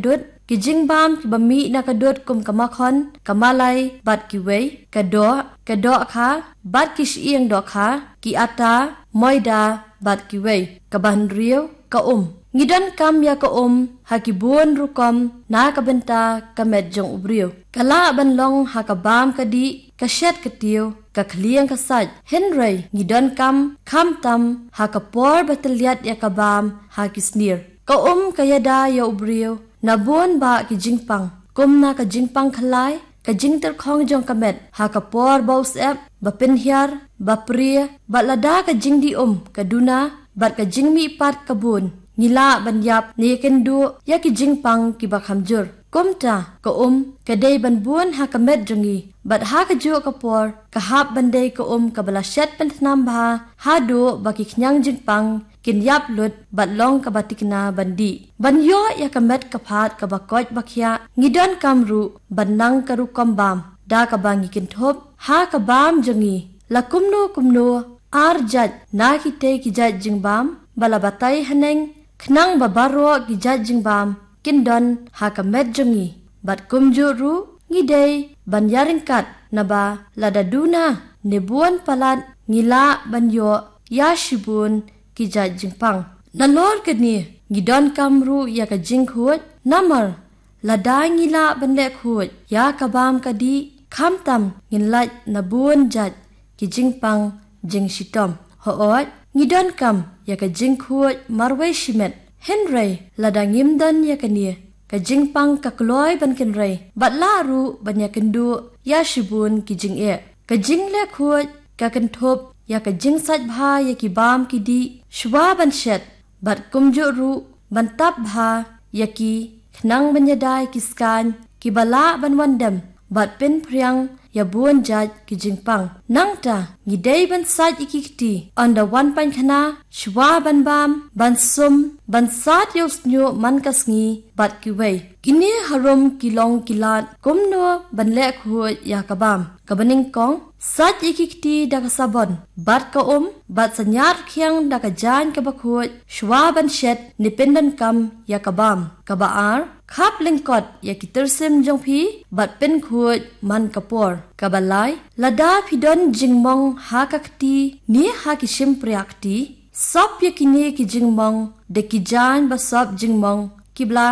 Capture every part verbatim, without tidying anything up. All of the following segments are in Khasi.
dud, ki jingbam kiba mih na ka dud kum ka makhon, ka malai bad kiwei, ka doh, ka dohkha bad ki shyieng dohkha, ki ata, moida bad kiwei. Kaba hynriew, ka um. Ngi donkam ïa ka um ha ki bun rukom na ka bynta ka met jong u briew. Ka lah ban long ha ka bam ka dih, ka shet ka tiew, ka khlieng ka sait. Hynrei ngi donkam khamtam ha ka por ba tylliat ïa ka bam ha ki snier. Ka um ka ïada ïa u briew na bun bah ki jingpang, kum na ka jingpang khlai, ka jingtyrkhong jong ka met ha ka por ba u syep, ba pynhiar, ba prie, bad lada ka jingdih um ka duna bad ka jingmihpat ka bun. Ngi lah ban ïap ne ïakynduh ïa ki jingpang kiba kham jur. Kumta ka um ka dei ban bun ha ka met jong ngi, bad ha kajuh ka por ka hap ban dei ka um kaba la shet pynthnam bha, haduh ba ki khñiang jingpang kin ïap lut bad long kaba thikna ban dih. Ban ïoh ïa ka met ka phad kaba koit ba khiah, ngi donkam ruh ban nang ka rukom bam da kaba ngi kynthup ha ka bam jong ngi. La kumno kumno, ar jait na kitei ki jait jingbam ba la batai haneng, khnang ba baroh ki jait jingbam kin don ha ka met jong ngi. Bad kumjuh ruh ngi dei ban ïaryngkat, naba lada duna ne bun palat ngi lah ban ïoh ïa shibun ki jait jingpang. Nalor kane ngi donkam ruh ïa ka jingkhuid, namar lada ngi lah ban leh khuid ïa ka bam ka dih, khamtam ngin lait na bun jait ki jingpang jingshitom. Hooid, ngi donkam ïa ka jingkhuid marwei shimet. Hynrei lada ngim don ïa kane, ka jingpang ka kloi ban kynrei bad lah ruh ban ïakynduh ïa shibun ki jingeh. Ka jingleh khuid ka kynthup ïa ka jingsait bha ïa ki bam ki dih shwa ban shet, bad kumjuh ruh ban tap bha ïa ki khnang ban ïada ïa ki skaiñ kiba lah ban wan dem bad pynphriang ïa bun jait ki jingpang. Nangta ngi dei ban sait ïa ki kti, ynda wan pynkhana, shwa ban bam, ban sum, ban sat ïa u shñiuh man ka sngi bad kiwei. Kine harum ki long ki lad kumno ban leh khuid ïa ka bam. Kaba nyngkong, sait ïa ki kti da ka sabon bad ka um, bad synñiar khiang da ka jaiñ kaba khuid shwa ban shet ne pyndonkam ïa ka bam. Kaba ar, khap lyngkot ïa ki tyrsim jong phi bad pynkhuid man ka por. Kaba lai, lada phi don jingmong ha ka kti ne ha ki shympriah kti, sop ïa kine ki jingmong da ki jaiñ ba sop jingmong kiba la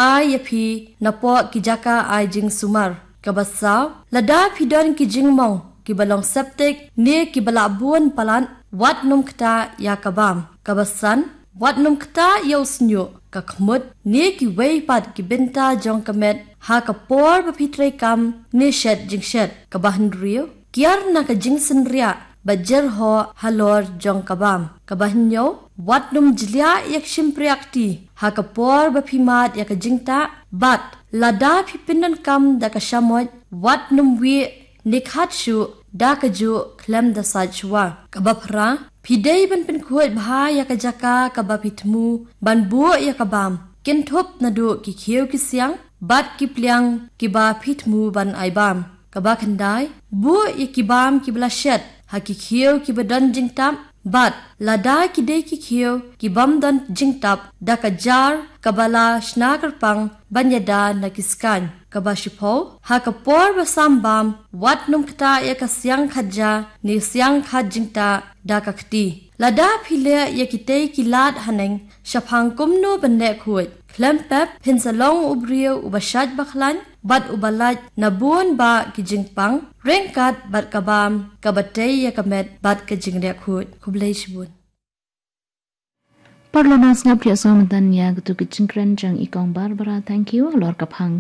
ai ïa phi napoh ki jaka ai jingsumar. Kaba saw, lada phi don ki jingmong kiba long septic ne kiba la bun palat, wat nym ktah ïa ka bam. Kaba san, wat nym ktah ïa u shñiuh, ka khmut ne kiwei pat ki bynta jong ka met ha ka por ba phi treikam ne shet jingshet. Kaba hynriew, kiar na ka jingsynriah bad jyrhoh halor jong ka bam. Kaba hynñiew, wat nym jliah ïa ka shympriah kti ha ka por ba phi mad ïa ka jingtah, bad lada phi pyndonkam da ka shamoit, wat nym wieh ne khat shuh da kajuh khlem da sait shwa. Kaba phra, phi dei ban pynkhuid bha ïa ka jaka kaba phi thmu ban buh ïa ka bam, kynthup naduh ki khiew ki siang bad ki pliang kiba phi thmu ban ai bam. Kaba khyndai, buh ïa ki bam kiba la shet ha ki khiew kiba don jingtap, bad lada ki dei ki khiew ki bym don jingtap, da ka jar kaba la shna kyrpang ban ïada na ki skaiñ. Kaba shiphew, ha ka por ba sam bam, wat nym ktah ïa ka siang khatja ne siang khat jingtah da ka kti. Lada phi leh ïa kitei ki lad haneng, shaphang kumno ban leh khuid, khlem pep phin sa long u briew uba shait ba khlaiñ bad uba lait na bun bah ki jingpang ryngkat bad ka bam kaba tei ïa ka met bad ka jingleh khuid. Khublei shibun. Parlok nang sngap ïa sngap mynta ïa katu ka jingkren jong i Kong Barbara. Thank you. Halor ka phang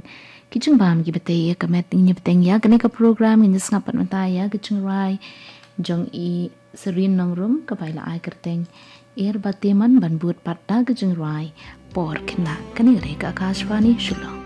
ki jingbam kiba tei ïa ka met, ngin ïa bteng ïa kane ka program, ngin ïa sngap pat mynta ïa ka jingrwai jong i Serene Nongrum, kaba la ai kyrteng Er Bad Te Man, ban bud pat da ka jingrwai Por Khynnah. Kane ka dei ka Akashvani Shillong.